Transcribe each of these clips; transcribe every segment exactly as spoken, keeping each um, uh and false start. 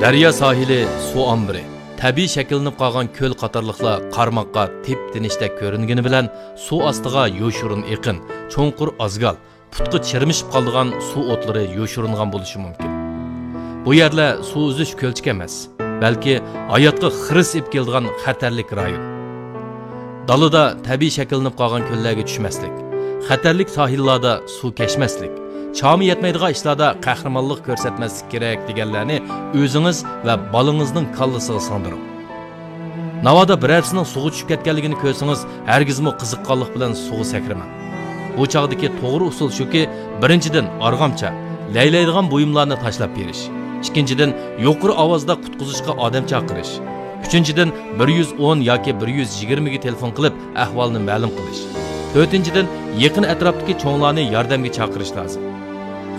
دەريا ساھىلى، سۇ ئامبىرى، تەبىئىي شەكىللىنىپ قالغان كۆل قاتارلىقلار قارىماققا تىپ-تىنچتەك كۆرۈنگىنى بىلەن، سۇ ئاستىغا يوشۇرۇن ئېقىن، چوڭقۇر ئازگال، پۇتقا چىرمىشىپ قالىدىغان سۇ ئوتلىرى يوشۇرۇنغان بولۇشى مۇمكىن. بۇ يەرلەر سۇ ئۈزۈش كۆلچىكى ئەمەس، بەلكى ھاياتقا خىرىس ئېلىپ كېلىدىغان خەتەرلىك رايون. دالىدا تەبىئىي شەكىللىنىپ قالغان كۆللەرگە چۈشمەسلىك، خەتەرلىك ساھىللاردا سۇ كەچمەسلىك، چامى يەتمەيدىغان ئىشلاردا قەھرىمانلىق كۆرسەتمەسلىك كېرەك دېگەنلەرنى ئۆزىڭىز ۋە بالىڭىزنىڭ كاللىسىغا سىڭدۈرۈڭ. ناۋادا بىرەرسىنىڭ سۇغا چۈشۈپ كەتكەنلىكىنى كۆرسىڭىز، ھەرگىزمۇ قىزىققانلىق بىلەن سۇغا سەكرىمەڭ. بۇ چاغدىكى توغرا ئۇسۇل شۇكى، بىرىنچىدىن، ئارغامچا، لەيلەيدىغان بۇيۇملارنى تاشلاپ بېرىش. ئىككىنچىدىن، يۇقىرى ئاۋازدا قۇتقۇزۇشقا ئادەم چاقىرىش. ئۈچىنچىدىن، بىر يۈز ئون ياكى بىر يۈز يىگىرمىگە تېلېفون قىلىپ، ئەھۋالنى مەلۇم قىلىش. تۆتىنچىدىن، يېقىن ئەتراپتىكى چوڭلارنى ياردەمگە چاقىرىش لازىم.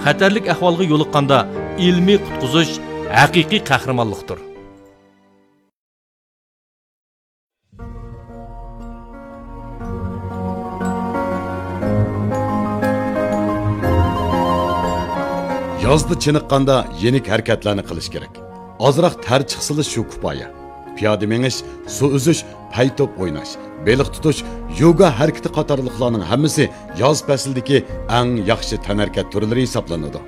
خەتەرلىك ئەھۋالغا يولۇققاندا، ئىلمىي قۇتقۇزۇش ھەقىقىي قەھرىمانلىقتۇر. يازدا چېنىققاندا يېنىك ھەرىكەتلەرنى قىلىش كېرەك. ئازراق تەر چىقسىلا شۇ كۇپايە. پىيادە مېڭىش، سۇ ئۈزۈش، پەي توپ ئويناش، بېلىق تۇتۇش، يوگا ھەرىكىتى قاتارلىقلارنىڭ ھەممىسى ياز پەسلىدىكى ئەڭ ياخشى تەنھەرىكەت تۈرلىرى ھېسابلىنىدۇ.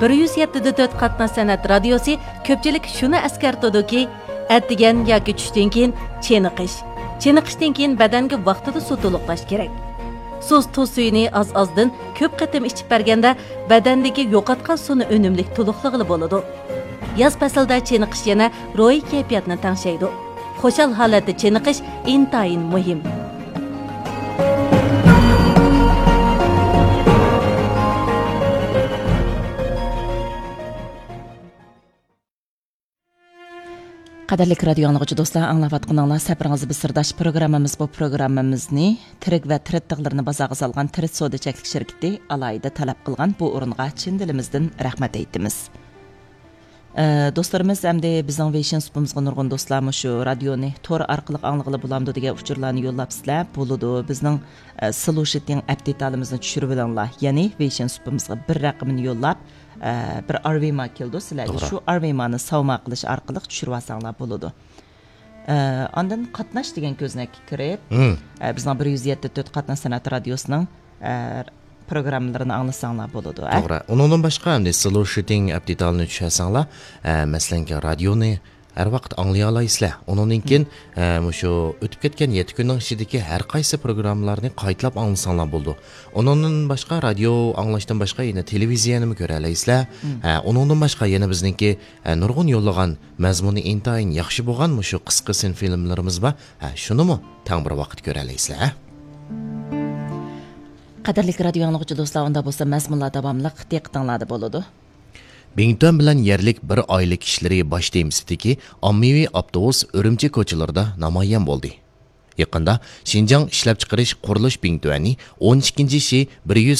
بىر يۈز يەتتە دە تۆت قاتناش سەنئەت رادىيوسى كۆپچىلىك شۇنى ئەسكەرتىدۇكى، ئەتىگەن ياكى چۈشتىن كېيىن چېنىقىش، چېنىقىشتىن كېيىن بەدەنگە ۋاقتىدا سۇ تولۇقلاش كېرەك. سۇس تۇز سۈيىنى ئاز-ئازدىن كۆپ قېتىم ئىچىپ بەرگەندە، بەدەندىكى يوقاتقان سۇنى ئۈنۈملۈك تولۇقلىغىلى بولىدۇ. ياز پەسلىدە چېنىقىش يەنە روھىي كەيپىياتنى تەڭشەيدۇ. خۇشال ھالەتتە چېنىقىش ئىنتايىن مۇھىم. قەدىرلىك رادىيو ئاڭلىغۇچى دوستلار، ئاڭلاۋاتقىنىڭلار سەپىرىڭىز بىر سىرداش پروگراممىمىز. بۇ پروگراممىمىزنى تىرىك ۋە تىرىت تىغلىرىنى بازارغا سالغان تىرىت سودا چەكلىك شىركىتى ئالاھىدە تەلەپ قىلغان. بۇ ئورۇنغا چىن دىلىمىزدىن رەھمەت ئېيتىمىز. ئە، دوستلىرىمىز، ئەمدى بىزنىڭ ۋېيشىن سۇپىمىزغا نۇرغۇن دوستلار مۇشۇ رادىيونى تور ئارقىلىق ئاڭلىغىلى بولامدۇ دېگەن ئۇچۇرلارنى يوللاپسىلەر. بولىدۇ. بىزنىڭ، ئە، سلۇشىتىڭ ئەپ دېتالىمىزنى چۈشۈرۈۋېلىڭلار. يەنى ۋېيشىن سۇپىمىزغا بىر رەقىمىنى يوللاپ، ئە، بىر ئارۋىما كېلىدۇ سىلەرگە. توغرا. شۇ ئارۋىمانى ساۋما قىلىش ئارقىلىق چۈشۈرۈۋالساڭلار بولىدۇ. ئە، ئاندىن قاتناش دېگەن كۆزنەككە كىرىپ، مم. ئە، بىزنىڭ بىر يۈز يەتتە تۆت قاتناش سەنئەت رادىيوسىنىڭ، ئە، پروگراممىلىرىنى ئاڭلىساڭلار بولىدۇ، ئە؟ توغرا. ئۇنىڭدىن باشقا، ئەمدى سلۇشىتىڭ ئەپ دېتالىنى چۈشۈرسەڭلار، ئە، مەسىلەنكى، رادىيونى ھەر ۋاقىت ئاڭلىيالايسىلەر. ئۇنىڭدىن كېيىن، مم. ئە، مۇشۇ ئۆتۈپ كەتكەن يەتتە كۈننىڭ ئىچىدىكى ھەر قايسى پروگراممىلارنى قايتىلاپ ئاڭلىساڭلار بولىدۇ. ئۇنىڭدىن باشقا، رادىيو ئاڭلاشتىن باشقا يەنە تېلېۋىزىيەنىمۇ كۆرەلەيسىلەر. مم. ئە، ئۇنىڭدىن باشقا يەنە بىزنىڭكى، ئە، نۇرغۇن يوللىغان مەزمۇنى ئىنتايىن ياخشى بولغان مۇشۇ قىسقا سىن فىلىملىرىمىز بار. ھە، شۇنىمۇ تەڭ بىر ۋاقىت كۆرەلەيسىلەر، ھە؟ قەدىرلىك رادىيو ئاڭلىغۇچى دوستلار، ئۇندا بولسا مەزمۇنلار داۋاملىق دىققىتىڭلاردا بولىدۇ. بىڭتۈەن بىلەن يەرلىك بىر ئائىلە كىشىلىرى باش تېمىسىدىكى ئاممىۋى ئاپتوبۇس ئۈرۈمچى كوچىلىرىدا نامايان بولدى. يېقىندا شىنجاڭ ئىشلەپچىقىرىش قۇرۇلۇش بىڭتۈەنى ئون ئىككىنچى شى بىر يۈز